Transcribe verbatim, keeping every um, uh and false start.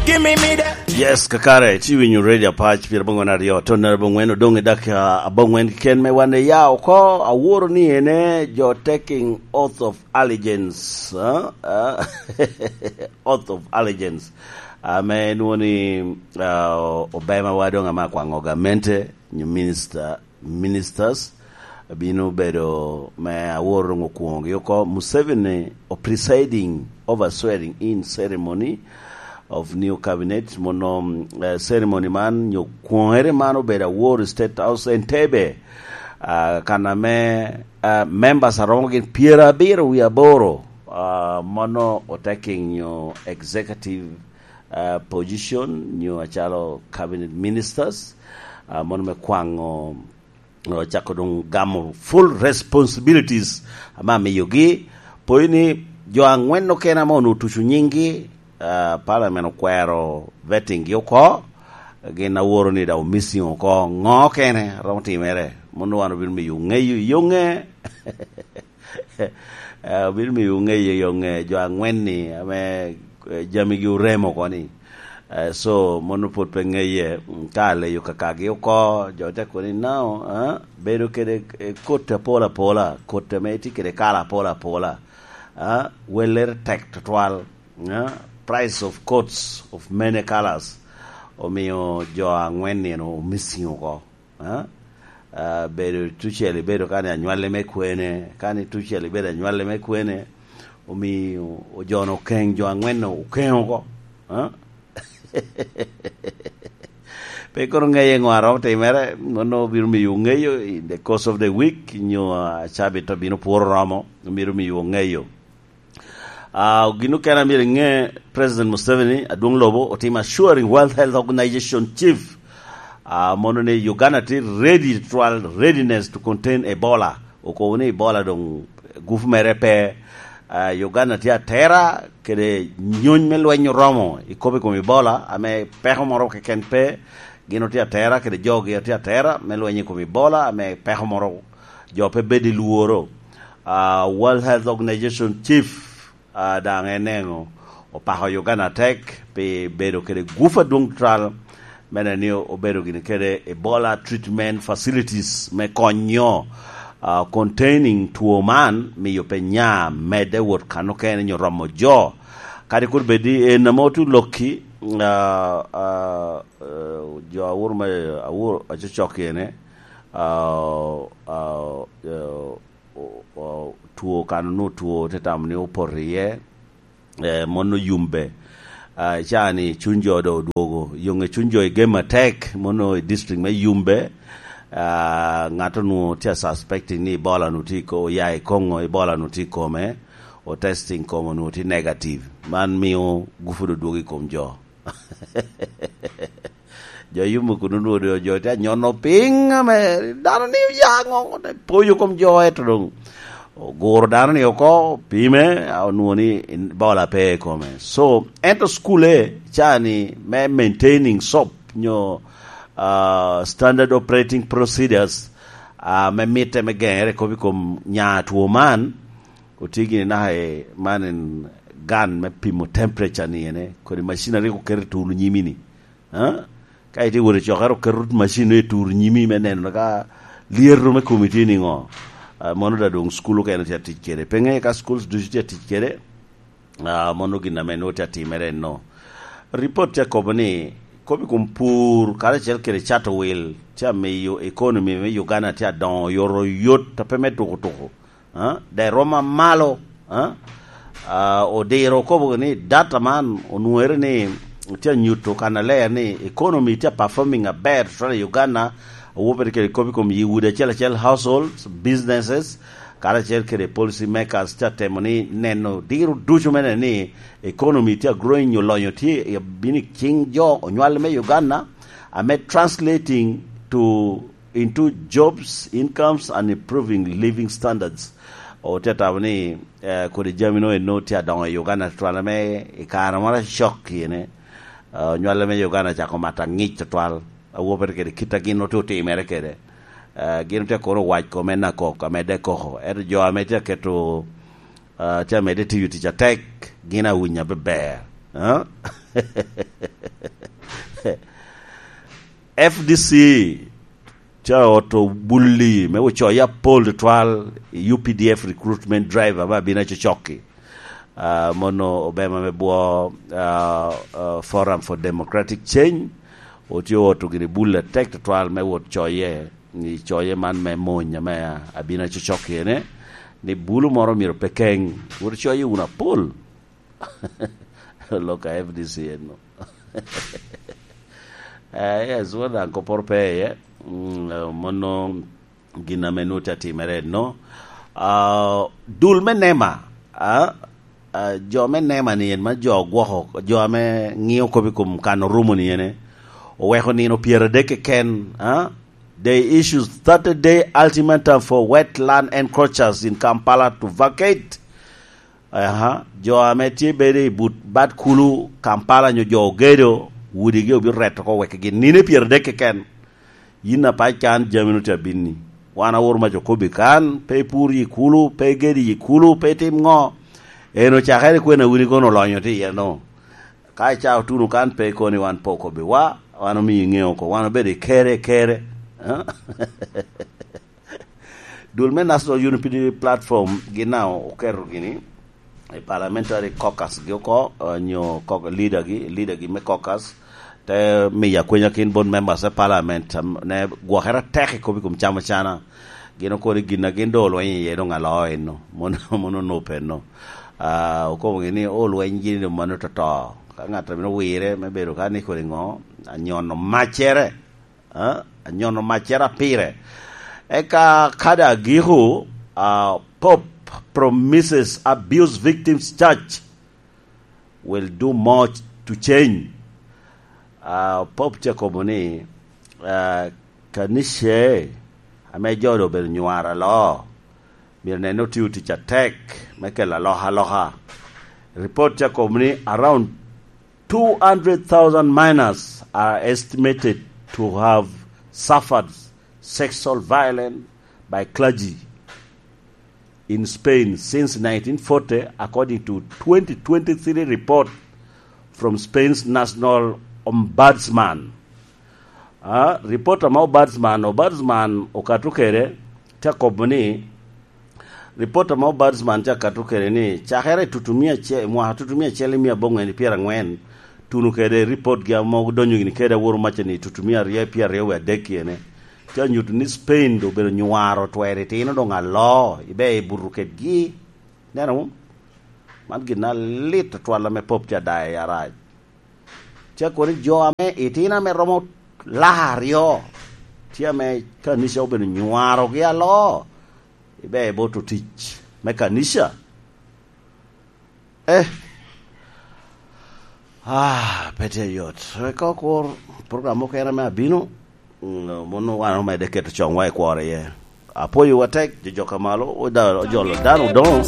Give me, me that. Yes, kakare, ci winyo Radio Apac, pira bongwen aryo, ton nara bongwen, odong i dak, ah, abongwen ken me wan ya oko, aworo ni ene, jo taking oath of allegiance, ah, ah, oath of allegiance. Ah, me nwo ni, ah, Obama wa dong ama kwango gamente, nyo minister, ministers, bino bedo me aworo dong okwongogi oko. Museveni o presiding over swearing in ceremony of new cabinet. Mono, eh, ceremony man, nyo kwongere man obedo aworo i State House Entebbe. Ah, kan ame, ah, members aromo gin pyerabiro wie aboro, ah, mono otaking nyo executive, ah, position, nyo acalo cabinet ministers, ah, mono me kwango, ocako dong gamo full responsibilities ame amiyogi. Poi ni jo angwen okene ame onwoŋo otuco nyinggi, ah, parliament okwero vetting gi oko, gin aworo ni daŋ omissing oko. Ŋo okene romo timere? Mono wan obino miyo ŋeyo i yoŋe. Eh, obino miyo ŋeyo i yoŋe jo angwen-ni ame, eh, jamigi oremo oko ni. Eh, so, mono pwod pe ŋeye, mm, ka aleyo kakagi oko, jo te kono ni, "No, eh, bedo kede, eh, kot apol apola, kot ame tye kede kala apol apola, eh, wellere tek tutwal, eh, price of coats of many colors." Omio jo angwen-ni omissing oko, eh? Ah, bedo tucel ibedo kani anywalli me kwene, kani tucel ibedo anywalli me kwene, omio ojono okeng jo angwen-nu okeng oko, eh? Pe kono ŋeye ŋo a romo timere, mono obino miyo ŋeyo in the course of the week, nyo, ah, cabit obino pworo romo, omito miyo ŋeyo. Ah, gin okene a myero iŋe, President Museveni, adwoŋ lobo, otimo assuring World Health Organization chief, ah, mono ni Uganda tye ready, twal readiness to contain Ebola. Okobo ni Ebola doŋ gufu mere pe. Ah, Uganda tye atera kede nyony me lweny oromo i kop i kom Ebola, ame peko moro keken pe. Gin otye atera kede jogi otye atera me lweny i kom Ebola, ame peko moro jo pe bedo i lworo. Ah, World Health Organization chief, ah, daŋ en eno opako Uganda tek pi bedo kede gufu adwoŋ tutwal, me neno ni obedo gini kede Ebola treatment facilities me konyo, ah, containing two man, miyo pe nya medde wot kan okene nyo romo jo. Kadi kur bed ni en ame otu lokki, ah, ah, eh, jo awur me, awur acocok ene, ah, ah, eh, o-, o-, two kan onwoŋo two te tamo ni opoto iye, eh, mon oyumbe. Ah, caa-ni cuny jo doŋ odwogo. Yoŋe cuny jo i gem atek, mon onwoŋo i district me Yumbe. Ah, ŋat onwoŋo tye a suspecting ni Ebola-nu tye i ko-, oya i Congo, Ebola-nu tye i kome, o testing kome onwoŋo tye negative. Man mio gufu doŋ dwogo i kom jo. Jo Yumbe kun onwoŋo doŋ jo tye anyono piny ame dano ni oya ŋo, te poyo kom jo, ento doŋ oguro dano ni oko, pime, a, onwoŋo ni Ebola pe i kome. So, ento cukule caa-ni me maintaining sop nyo, ah, standard operating procedures, ah, me mitte me geŋere kop i kom nya two man, otye gini naka i man en gun me pimo temperature ni ene, kodi macin a rik oketo i turo nyimi-ni. Ah? Ka itye wot i cokere, oketo macin i turo nyimi me neno ka lyeto me komi tye niŋo. Ah, mono daŋ doŋ cukul okene tye atic kede. Pe ŋeyo ka schools ducu tye atic kede, ah, mono gin ame nwoŋo tye atimere enno. Ripot tye akobo ni, kop i kom pur karacel kede cato wil tye amiyo economy me Uganda tye adoŋo oyotoyot, a pe me tukutuku. Ah, daŋ romo amalo, ah, ah, odiro okobo ni data man onwoŋere ni tye anyuto kannaler ni economy tye performing aber tutwal i Uganda, awopere kede kop i kom yi udi acel acel, households, businesses, karacel kede policy makers tye atemo ni neno diro ducu me neno ni economy tye growing, nyo lonyo tye i abino i cing jo onywal me Uganda, ame translating to into jobs, incomes, and improving living standards. Otye atamo ni, eh, kodi jami no eno tye adoŋo i Uganda tutwal, ame i kare moro acok kine, eh, onywale me Uganda cako mato aŋic tutwal, awopere kede kit a gin otye otimere kede. Eh, gin otye kono owac kome na kok, amedde koko. Ento jo ame tye aketo, eh, tye amedde tiyo tic atek, gin awinyo abeber. Eh? F D C ca oto bulli me ocoye apol tutwal i U P D F recruitment drive ame abino acocokki. Ah, mono obema me bwo, ah, ah, Forum for Democratic Change otye oto gini bulli atek tutwal me wot coye, i coye man me mony ame abino acocokki ene, ni bulu moro myero pe keng, wot coye wunu apol. Lok a F D C eno. Eh, yes, won daŋ kopporo pe iye. Mm, eh, mono gin ame nwoŋo tye atimere eno. Ah, dul me nema, ah, ah, jo me nema ni en ma jo gwoko, jo ame ŋio kop i kom kan orumo ni ene, oweko nino pyeradek keken, ah, they issues thirty day ultimatum for wetland encroachers in Kampala to vacate. Aha, jo ame tye bedo i but bad kulu Kampala nyo jo ogedo, wudigi obino reto oko wekgi nino pyeradek keken. Yin apac kan jami no tye abinni. Wan aworo mac okobi kan, pe ipur yi kulu, pe igedi yi kulu, pe itim ŋo. En ocakere kwena wini kono olonyo tye iye no. Ka ica otuno kan pe ikoni wan pe okobi wa, wan omiyo iŋeo oko, wan obedo i kere, kere. Dul me National Unity Platform gin na oketo gini i parliamentary caucus gi oko, eh, nyo cau-, leader gi, leader gi me caucus, te miyo akwenya kin bot members of parliament, am-, ne gwokere atek i kop i kom camo cana. Gin okoni gin a gin doŋ olweny iye doŋ aloo eno, mono, mono onope eno. Ah, okobo gini olweny gini doŋ mano toto. Ka ŋat a bino wire me bedo ka ni kodi ŋo, anyono maccere. Ah, anyono maccere pire. Eka kadi agiko, ah, Pope promises abuse victims church will do much to change. Ah, Pope tye kobo ni, ah, kanice ame jo doŋ obedo nywaro aloo, myero nen ni otio tic atek me kelo alokaloka. Report tye kobo ni around two hundred thousand minors are estimated to have suffered sexual violence by clergy in Spain since nineteen forty, according to twenty twenty-three report from Spain's National Ombudsman. Ah, report ame Ombudsman, Ombudsman okato kede, te kobo ni, report ame Ombudsman te akato kede ni, cakere i tutumia ace-, mwaka tutumia acel i mia aboŋwen i pyerangwen, tuno kede report gi ame odonyo gini kede aworo maca ni tutumia aryo i pyeraryo wie adek iene, te nyuto ni Spain doŋ obedo nywaro twero itino doŋ aloo, ibe i buto kedgi. Neno, man gin alit atwal ame Pope tye adayo i arac. Tye kono jo ame itino ame romo laka aryo, tye ame kanica obedo nywarogi aloo, ibe i bot otic me kanica. Eh, ah, pe tye yot. Eka okur program mukene ame abino, mm, mono wan omedde keto coŋwa i kworo iye. Apwoyowa tek, jo joka malo, oda-, ojolo dano odoŋo.